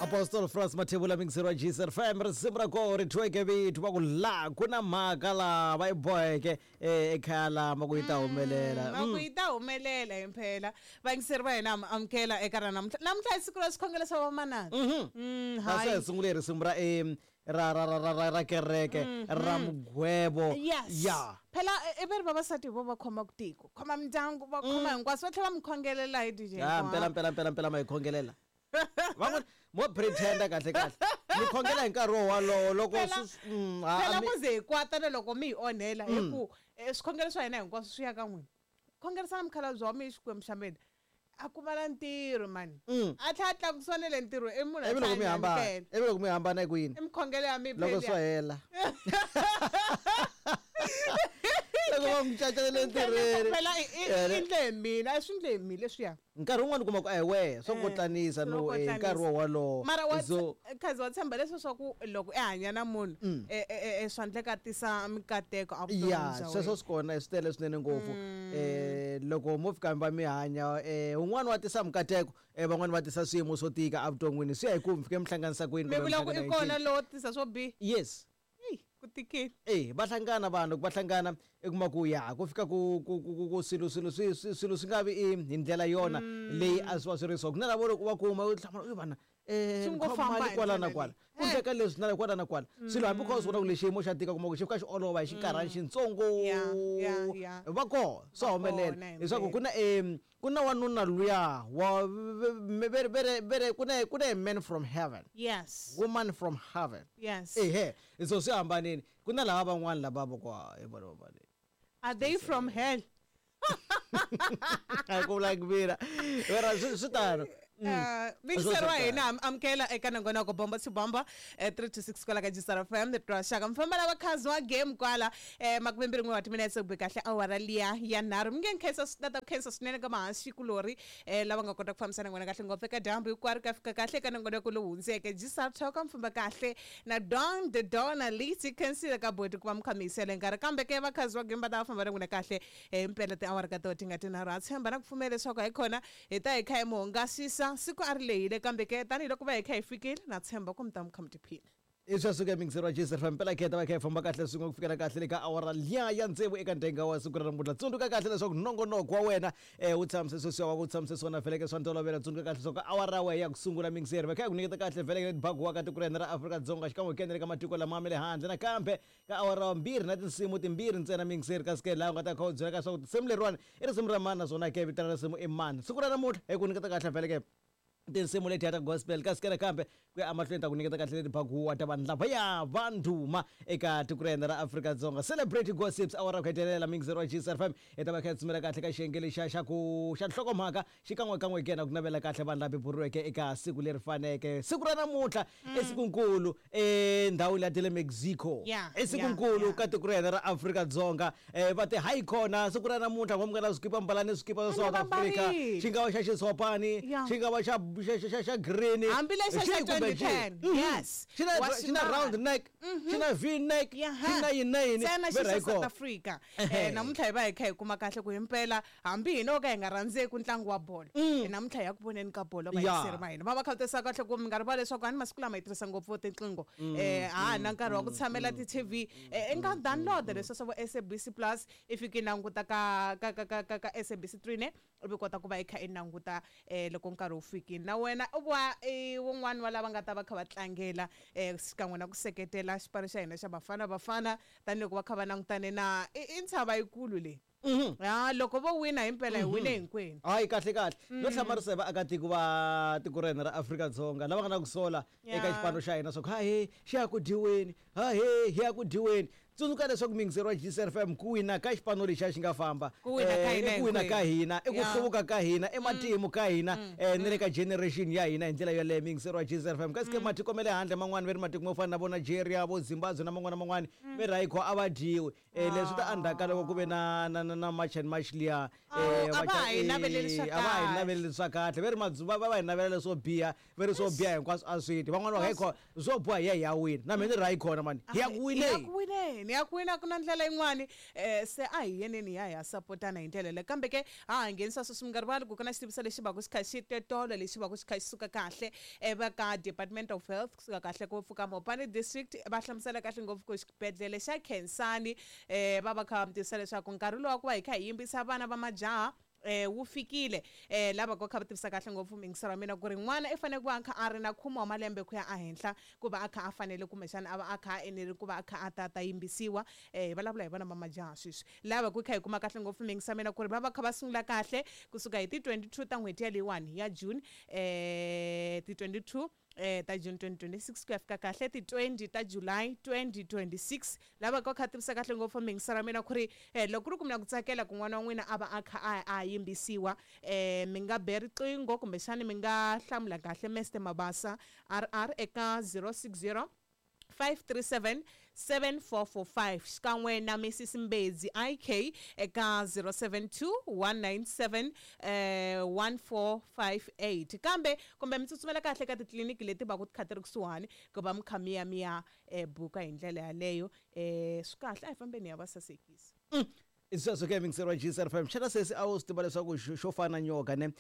Apostle France Mathebula mingiseri wa Jesus FM risimu ra koho ri thyiweke vito va ku la ku na mhaka laha va yi boheke eh, ekhaya lama ku yi ta humelela Va ku yi ta humelela himpela vayingiseri va hina ha mi amukela eka ra namuntlha namuntlha i siku ra swikhongelo swa vamanana Mm, a swi hi sungule hi risimu ra em, ra ra ra ra ra ra kereke ra mugwebo Yes. ya Phela i veri vavasati hi vo va khomaka tiko khoma mindyangu va khoma hinkwaswo va tlhela va mi khongelela hi DJ ya mpela mpela mpela mpela ma hi khongelela van'wana mo pretenda kahle kahle mi khongela hi nkarhi wo walowo loko Phela- swi- mm, ha- phela a mi- ku ze hi kwata na loko mi hi onhela hi ku eh, swikhongelo swa hina hinkwaswo swi ya ka n'wina khongerisana mukhalabye wa mina xikwembu xa mina a kuma na ntirho mani a tlhela a tlakusiwa na le ntirho i munhu a ivi loko mi tlhela a hambana nyamukela. ivi loko mi hambana eku yini i mikhongelo ya mi loko swo hela loko va n'wi cacelele entirhweni phela i endle hi mina a swi endle hi mina leswiya nkarhi wun'wani u kuma ku a hi wehe swo kotlanisa swo no eh, kotlanisa. nkarhi wo walowo mara wa so khazi wa tshemba leswi swa ku loko i hanya na munhu eh, eh, eh, swa endleka a tisa mikateko evuton'wini ya bya sweswo wena. swi kona swi tele swinene ngopfu eh loko mo fika mi va mi hanya eh un'wana wa tisa mikateko eh van'wani va tisa swiyimo swo tika evuton'wini swi ya hi ku mi fike mi hlanganisa kwini mi kumbe mi vula ku i hlangana hi kona ncini. lowo tisa swo biha yes Eyi, ku tikile Eh va hlangana vanhu loko va hlangana i kuma ku ya ku fika ku ku ku ku- ku swilo swilo swi swi- swilo swi nga vi i hi ndlela yona leyi a swi va swi ri so ku na lavo loko va kuma u hlamala u vana eh Swi ni ngo khoma famba mali hi kwala na ndlela kwala leyi. ku endleka leswi na kwala na kwala swilo hambi kha u swi vona ku lexi xiyimo xa tika kuma ku xi fika xi olova hi xinkarhana xintsongo Ya, ya, ya. va koho swa Va humelela kona hi leswaku mpela. ku na em ku na wanuna luya wa vere vere vere ku na ku na a man from heaven yes woman from heaven yes ehe so swi hambanile ku na lava van'wana lava va ku "Ah, hi vona va vona." are they from hell a ku vula mina vera swi swi tano mingiseri wa Swo hina ha mi amukela eka nongonoko bomba to bomba 3 to 6 kwala ka jisara fm twa xaka mufamba lava khazi wa game kwala makumembirhi n'we wa timinetse ku be kahle awara liya ya nharhu mi nge nkhensa tata ku khensa swinene ka mahansi kulori lava nga kota ku fambisana n'wina kahle ngopfu eka dyambu hinkwaro ka fika kahle eka nongonoko lowu hundzeke jisara talk mfamba kahle na don the dona liti khensile ka boti ku va mi kha mi yisele nkarhi kambe ke vakhazi wa game va ta va famba na n'wina kahle himpela tiawara ka toho ti nga tinharhu ha tshemba na ku pfumela leswaku hi kona hi ta hi kha hi mi hungasisa siku a ri lehile kambe ke tanihiloko va hi kha hi fikile na tshemba ku mi ta mi kha mi tiphina i swa suka mingiseri wa jesus fm mpela kheta va kha hi famba kahle swin'we ku fikela kahle le ka awara liya ya tsevu eka ndenga wa siku ra namuntlha tsundzuka kahle leswaku nongonoko wa wena um wu tshamise sweswiya wa ku tshamise swona veleke swa ntolovelo tsundzuka kahle leswaku awara ya wena ya ku sungula mingiseri va kha hi ku nyiketa kahle veleke leti wa ka tiko ra hina ra Afrika-Dzonga xikan'we hi kena le ka matiko lama ma le handle nakambe ka awara wa mbirhi na tinsimu timbirhi ntsena mingiseri kasi ke laha u nga ta kha u byela ka swa ku tinsimu leriwani i risimu ra mani naswona ke vito ra risimu i mani siku ra namuntlha hi ku nyiketa kahle veleke tinsimu letiya ta gospel kasi ke nakambe ku ya emahlweni ta ku nyiketa kahle leti bakuwa ta vanhu lavaya va ndhuma eka tiko ra hina ra Afrika-Dzonga celebrate gossips awara ku hetelela mingiseri wa gsr fm hi ta va kha hi tsumela kahle ka xiyenge lexiya xa ku xa nhlokomhaka xikan'wekan'we ke na ku navela kahle vanhu lava beburiweke eka siku leri faneke siku ra namuntlha i sikunkulu endhawini ya ta le Mexico Yeah, i sikunkulu yeah, yeah. ka tiko ra hina ra Afrika-Dzonga va ti hayi khona siku ra namuntlha n'wa mi nga na swikipa mbalani swikipa swa South va Africa mbarile. xi nga va xa xitshopani Yeah. xi nga va xa xa xa- xa xa green Hambi lexa xa Xi kumbe xi. 2010, Mhm. yes. xi na Wa xi na xi round mbala. neck xi na v neck xi na yini na yini ntsena xi Ve ra xa hi kona. South Africa Ehe. namuntlha hi va hi kha hi kuma kahle ku himpela hambi hina o ka hi nga rhandzeki ntlangu wa bolo namuntlha hi ya ku voneni ka bolo Ya. vayingiseri va hina va va kha va tisa kahle ku mi nga rivali leswaku hani masiku lama hi tirhisa ngopfu tinqingho ha na nkarhi wa ku tshamela ti-tv i nga download leswi swa vo SABC Plus i fika i languta ka ka ka ka ka ka SABC 3 ne u vi kota ku va i kha i languta loko nkarhi wu fikile na wena u va i wun'wani wa lava nga ta va kha va tlangela xikan'we na ku seketela xipano xa hina xa Bafana Bafana tanihiloko va kha va langutane na i ntshava yikulu leyi ya loko vo wina himpela hi wine hinkwenu hayi kahle kahle no hlamarisa hi vaakatiko va tiko ra hina ra Afrika-Dzonga lava nga na ku sola eka Yeah. xipano xa hina swa ku hahe xi ya ku dyiweni hahe hi ya ku dyiweni tsundzuka leswaku mingiseri wa gsr fm ku wina ka xipano lexiya xi nga famba Ku wina ka hina i ku wina ka hinkwenu. hina i ku Yeah. hluvuka ka hina i matimu ka hina na le ka generation ya hina hi ndlela yoleyo mingiseri wa gsr fm kasi ke matiko ma le handle man'wani ve ri matiko mo fana na vo Nigeria vo Zimbabwe na man'wana na man'wana ve ri hayi kho a va dyiwi leswi ta endzhaku ka loko ku ve na na na na march and march liya Awu, a va ha hi naveleli swa a va ha hi kahle. naveleli swa kahle ve ri madzuva va va hi navela leswo biha ve ri swo biha hinkwaswo a swi ti van'wana va hayi khona swo boha hi ya hi ya wina na mina ni ri hayi khona mani hi ya ku Hi ya wineni ku wineni Ni ya kwini a ku na ndlela yin'wani. Se a hi yeneni hi ya hi ya sapotana hi ndlela leyo. Kambe ke ha ha nghenisa sweswi mi nga rivali ku ku na xitiviso lexi va ku xi kha xi tetolo lexi va ku xi kha xi suka kahle va ka Department of Health kusuka kahle ku pfuka Mopani District va hlamusela kahle ngopfu ku xibedhlele xa Khensani va va kha va mi tivisa leswaku nkarhi lowu wa ku va hi kha hi yimbisa vana va majaha wu fikile. Lava ku kha va tivisa kahle ngopfu muyingiseri wa mina ku ri n'wana i fanele ku va a kha a ri na khume wa malembe ku ya ehenhla ku va a kha a fanele kumbexana a va a kha a enele ku va a kha a ta ta yimbisiwa. Hi vulavula hi vona va majaha sweswi. Lava ku kha hi kuma kahle ngopfu muyingiseri wa mina ku ri va va kha va sungula kahle kusuka hi ti 22 ta n'hweti ya leyiwani ya June, ti 22 ta June 2026 ku ya fika kahle ti 20 ta July 2026. Lava ka kha tivisa kahle ngopfu muyingiseri wa mina ku ri loko ku ri ku mi na ku tsakela ku n'wana wa n'wina a va a kha a yimbisiwa, mi nga be riqingho kumbexani mi nga hlamula kahle Mr Mabasa RR eka 060 537 7445 xikan'we na Mrs Mbedzi IK eka 072 197 1458. Kambe kumbe mi tsutsumela kahle ka titliliniki leti va ku ti kha ti ri kusuhani ku va mi kha mi ya mi ya buka hi ndlela yaleyo. Swi kahle a hi fambeni ya va sasekisa. Sweswo ke muyingiseri wa GCR FM, xana sesi a wu swi tiva leswaku xo fana nyoka ne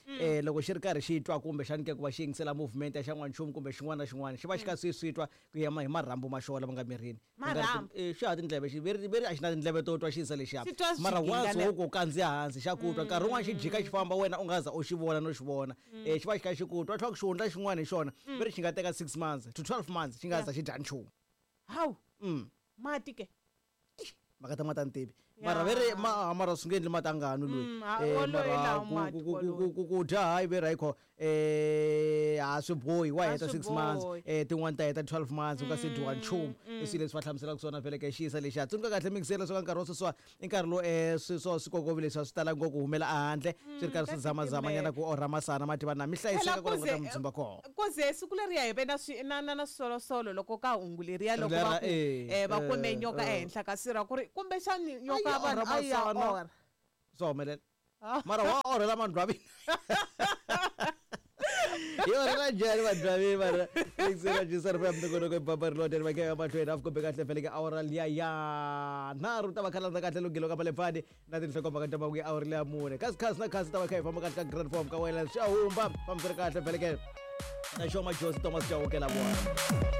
loko xi ri karhi xi twa kumbe xani ke ku va xi yingisela movement ya xan'wanchumu kumbe xin'wana na xin'wana xi va xi kha swi swi twa ku ya hi marhambu ma xona lama nga mirini? Marhambu? Xi ha tindleve xi veri veri a xi na tindleve to twa xiyisa lexiya, Xi twa mara swiginga once ne- wo ku kandziya hansi xa ku twa. Nkarhi wun'wana xi jika xi famba wena u nga za u xi vona no xi vona, xi va xi kha xi ku twa tlhela ku xihundla xin'wana hi xona veri xi nga teka 6 months to 12 months xi nga za xi dya nchumu. Hawu. Mati ke? Mhaka ta mati a ni tivi. Mara veri mara swi nge endli mati a nga nwi loyi. Woloye Mara lawa mati woloye. ku dya hayi veri hayi kho, a swi bohi wa A heta swi 6 months, bohi. Tin'wani ta heta 12 months u nga se dyiwa nchumu. I swilo leswi va hlamuselaka swona vhele ka xiyisa lexiya. Tsundzuka kahle muyingiseri leswaku nkarhi wa sweswiwa i nkarhi lowu swi swo swikokovi leswi a swi talangi ngopfu ku humela ehandle swi ri karhi Ka swi zamazama nyana ku orha masana ma tiva na mi hlayiseka Phela ku languta kuze mudzumba kona. Kuze siku leriya hi ve na swi na na na swisolosolo loko ka hungu leriya loko Lera, va ku va kume nyoka ehenhla ka sirha ku ri kumbexani nyoka A ya yi vanhu orha a yi ya masana. orha. Swa humelela. Mara wa orhela mandlwavini. Hi orhela njhani mandlwavini mara? Muyingiseri wa GCR FM nongonoko i Bamba Rilonde ri vekeka mahlweni a kombe kahle vhele ka awara liya ya nharhu ta va kha landza kahle lunghelo ka malepfani na tinhlokomhaka ta mahungu ya awara liya mune. Kasi khasi na khasi ta va kha hi famba kahle ka grand form ka wena swi a humba fambisana kahle vhele ke na Xoma Josi Thomas Chauke la vona.